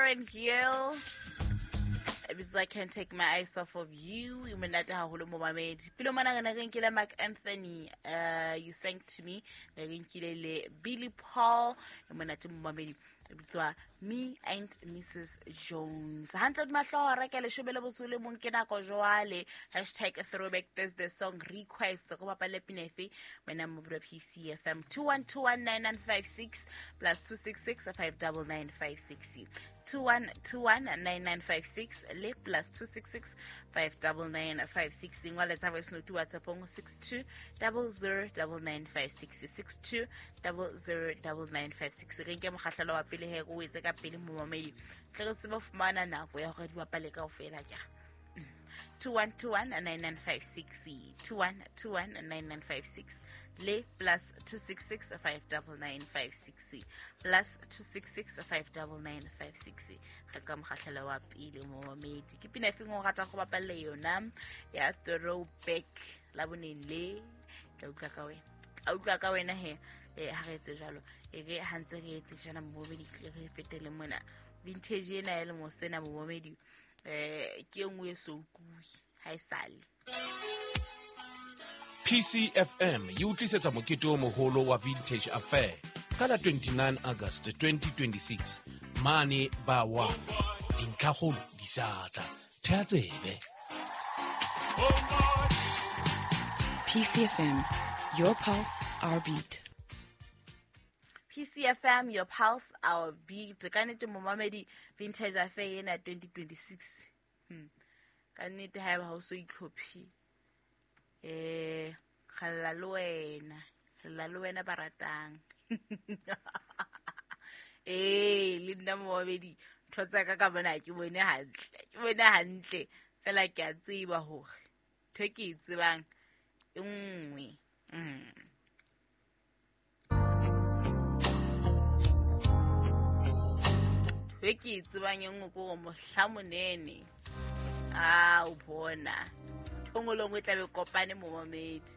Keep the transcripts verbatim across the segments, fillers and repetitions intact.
Lauren Hill. I can't take my eyes off of you. E monate haholo momamedi. Pele mona re ne re nkile Mark Anthony, uh, You Sang to Me. Ne re nkile le Billy Paul. E monate momamedi. E bitswa Me and Missus Jones. Hantle di mahloho re ke leshome le botso le mong ke nako jwale. Hashtag Throwback Thursday song request. Go bapale pina efe wena mo P C F M two one two one nine nine five six plus two six six five double nine five six. two one two one nine nine five six le plus two six six five double nine five six. Ngwala tsa voice note WhatsApp on six two double zero double nine five six, six two double zero double nine five six. Re nke mokgahlelo wa pele he go etse ka pele momamedi. Tle re tsebe fumana nako ya hore di bapale kaofela ke. two one two one nine nine five six, two one two one nine nine five six le plus two six six five double nine five six, plus two six six five double nine five six. Re ka mokgahlelo wa pele momamedi. Ke pina efeng o ratang go bapalla yona ya throwback la boneng le? Ka utlwa ka wena, ka utlwa ka wena he. Eh, ha re etse jwalo, e re ha ntse re etse jana momamedi, re fetele mona vintage ena ya lemo sena momamedi. Eh, ke nngwe e so utlwe ha e sale. P C F M e utlisetsa mokete o moholo wa Vintage Affair ka la twenty-nine August twenty twenty-six mane ba wa dintlhakgolo di sa tla. Thea tsebe. P C F M, your pulse, our beat. P C F M, your pulse, our beat. Ka nnete momamedi, Vintage Affair ena twenty twenty-six. Hmm. Ka nnete haeba ha o so itlhophe, eh, kgalla le wena, kgalla le wena ba ratang. Eh, le nna momamedi, ntho tsa ka ka bona ke bone hantle, ke bone hantle. Fela ke a tseba hore ntho e ke e tsebang e nngwe. Mm. Ntho e ke e tsebang e nngwe ke hore mohla monene, a o bona ntho nngwe le nngwe e tlabe e kopane momamedi.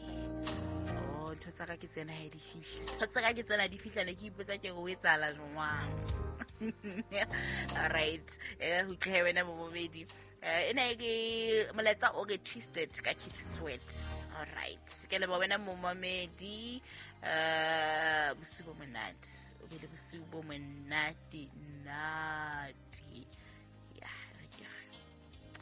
Oh, ntho tsa ka ke tsena ha di fihla, ntho tsa ka ke tsena di fihla, ne ke ipotsa ke re o etsahala jwang. All right, eh, ho tlohe wena momamedi. Eh, ena ke molaetsa o re Twisted ka Keith Sweat. All right, ke leboha wena momamedi. Eh, bosiu bo monate, o be le bosiu bo monate nate.